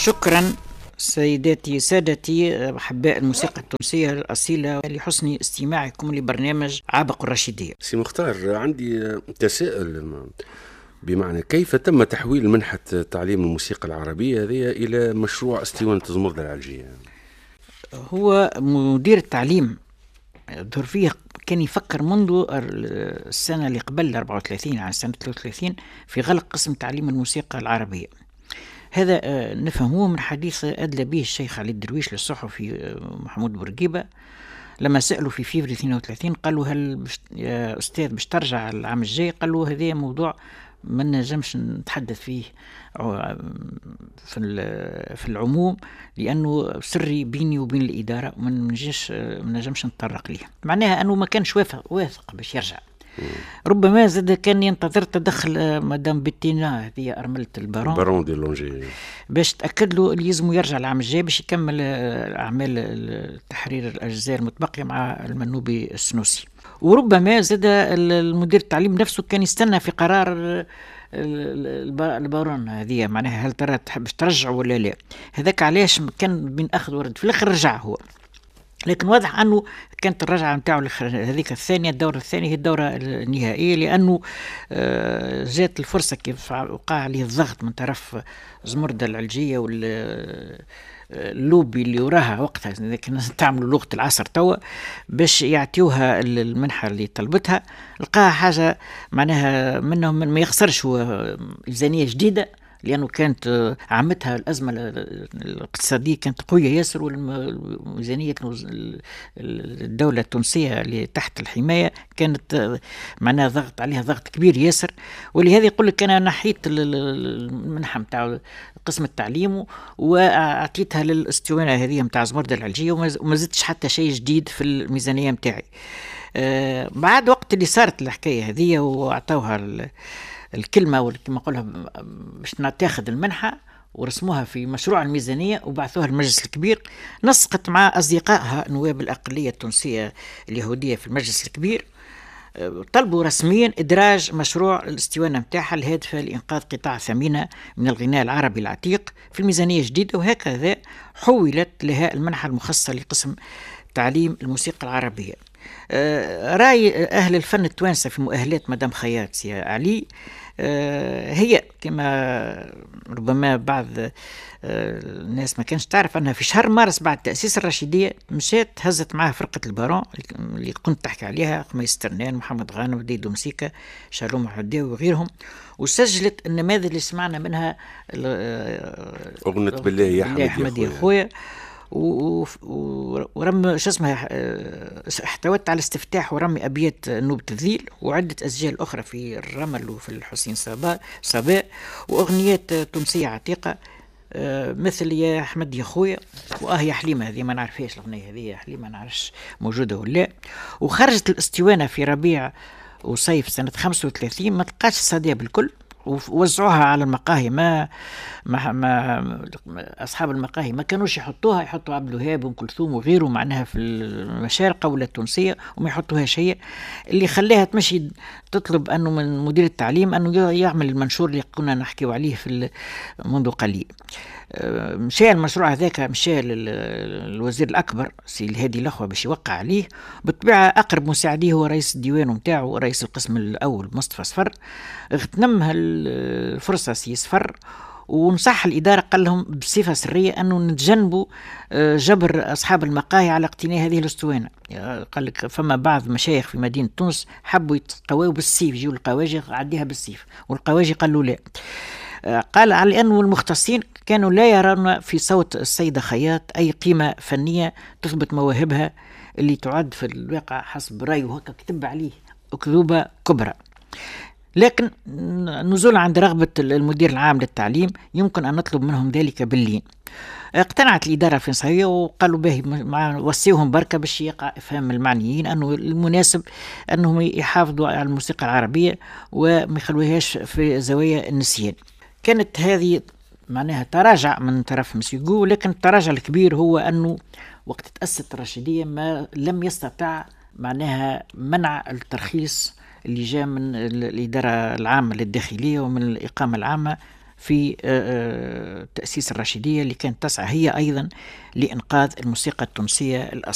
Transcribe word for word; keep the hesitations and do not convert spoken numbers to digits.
شكرا سيداتي سادتي أحباء الموسيقى التونسية الأصيلة لحسن استماعكم لبرنامج عابق الرشيدية. سي مختار، عندي تساؤل، بمعنى كيف تم تحويل منحة تعليم الموسيقى العربية هذه إلى مشروع اسطوانة زمردة العلجية؟ هو مدير التعليم ظهر فيه كان يفكر منذ السنة اللي قبل أربعة وثلاثين، عن سنة ثلاثة وثلاثين، في غلق قسم تعليم الموسيقى العربية. هذا نفهموه من حديث أدلى به الشيخ علي الدرويش للصحفي محمود بورقيبة لما سألوا في فيفري اثنين وثلاثين، قالوا هل بش يا أستاذ باش ترجع العام الجاي؟ قالوا هذا موضوع ما نجمش نتحدث فيه في في العموم لأنه سري بيني وبين الإدارة وما نجمش ما نجمش نتطرق ليه. معناها أنه ما كانش واثق واثق باش يرجع. ربما زاد كان ينتظر تدخل مدام بيتينا، هذه أرملة البارون بارون دي لونجي، باش تأكد له اللي يلزمه يرجع العام الجاي باش يكمل أعمال تحرير الأجزاء المتبقية مع المنوبي السنوسي. وربما زاد المدير التعليم نفسه كان يستنى في قرار البارون هذه، معناها هل ترى تحب ترجع ولا لا. هذاك علاش كان بين أخذ ورد، في الآخر رجع هو، لكن واضح أنه كانت الرجعة نتاعو هذيك الثانية، الدورة الثانية هي الدورة النهائية، لأنه جات الفرصة كيف وقع عليه الضغط من طرف زمردة العلجية واللوبي اللي وراها وقتها، لكن تعملوا لغة العصر توا باش يعطيوها المنحة اللي طلبتها. لقاها حاجة معناها منهم ما يخسرش هو ميزانية جديدة، لأنه كانت عامتها الأزمة الاقتصادية كانت قوية ياسر، والميزانية الدولة التونسية اللي تحت الحماية كانت معناها ضغط عليها ضغط كبير ياسر. ولهذا يقول لك أنا نحيت المنحة متاع قسم التعليم وأعطيتها للاسطوانة هذه متاع زمردة العلجية وما زدتش حتى شيء جديد في الميزانية متاعي. بعد وقت اللي صارت الحكاية هذه وأعطوها الكلمة وكما نقولها باش تاخذ المنحة ورسموها في مشروع الميزانية وبعثوها للمجلس الكبير، نسقت مع أصدقائها نواب الأقلية التونسية اليهودية في المجلس الكبير، طلبوا رسميا إدراج مشروع الاسطوانة متاعها الهادفة لإنقاذ قطاع ثمينة من الغناء العربي العتيق في الميزانية الجديدة، وهكذا حولت لها المنحة المخصصة لقسم تعليم الموسيقى العربية. رأي أهل الفن التوانسة في مؤهلات مدام خياط يا علي هي كما ربما بعض الناس ما كانش تعرف أنها في شهر مارس بعد تأسيس الرشيدية مشات هزت معها فرقة البارون اللي كنت تحكي عليها، خميس ترنان، محمد غانم، ديدو مسيكا، شالوم حداوي وغيرهم، وسجلت النماذج اللي سمعنا منها أغنية بالله يا حمد يا خويا، ورم شو اسمها احتوت على استفتاح ورمي أبيات نوبة الذيل وعدة أسجال أخرى في الرمل وفي الحسين صباء صباء وأغنيات تونسية عتيقة مثل يا أحمد يا خويا وآه يا حليمة، هذه ما نعرفهاش الأغنية هذه يا حليمة، ما نعرفش موجودة ولا. وخرجت الاسطوانة في ربيع وصيف سنة خمسة وثلاثين، ما تلقاش الصدى بالكل، ووزعوها على المقاهي، ما, ما, ما أصحاب المقاهي ما كانوش يحطوها، يحطوا عبد الوهاب وأم كلثوم وغيره معناها في المشارقة ولا التونسية وما يحطوهاش هي. اللي خلاها تمشي تطلب أنه من مدير التعليم أنه يعمل المنشور اللي كنا نحكيو عليه في منذ قليل. مشى المشروع هذاك مشى للوزير الأكبر سي الهادي الأخوة باش يوقع عليه. بالطبيعة أقرب مساعديه هو رئيس الديوان نتاعو رئيس القسم الأول مصطفى صفر، اغتنمها الفرصة سي صفر ونصح الإدارة، قال لهم بصفة سرية أنه نتجنبوا جبر أصحاب المقاهي على اقتناء هذه الأسطوانة. قال لك فما بعض مشايخ في مدينة تونس حبوا يتقواوا بالسيف، يجيو القواجي عديها بالسيف، والقواجي قالوا لا. قال على أنه المختصين كانوا لا يرون في صوت السيدة خياط أي قيمة فنية تثبت مواهبها اللي تعد في الواقع حسب رأيه، هكا كتب عليه أكذوبة كبرى. لكن نزول عند رغبة المدير العام للتعليم يمكن أن نطلب منهم ذلك باللين. اقتنعت الإدارة الفرنسية وقالوا به مع وصيهم بركة باش يقع إفهام المعنيين أنه المناسب أنهم يحافظوا على الموسيقى العربية وما يخلوهاش في زوايا النسيان. كانت هذه معناها تراجع من طرف مسيو، لكن التراجع الكبير هو أنه وقت تأسست الرشيدية ما لم يستطع معناها منع الترخيص اللي جاء من الإدارة العامة للداخلية ومن الإقامة العامة في آه، آه، تأسيس الرشيدية اللي كانت تسعى هي أيضا لإنقاذ الموسيقى التونسية الأصيلة.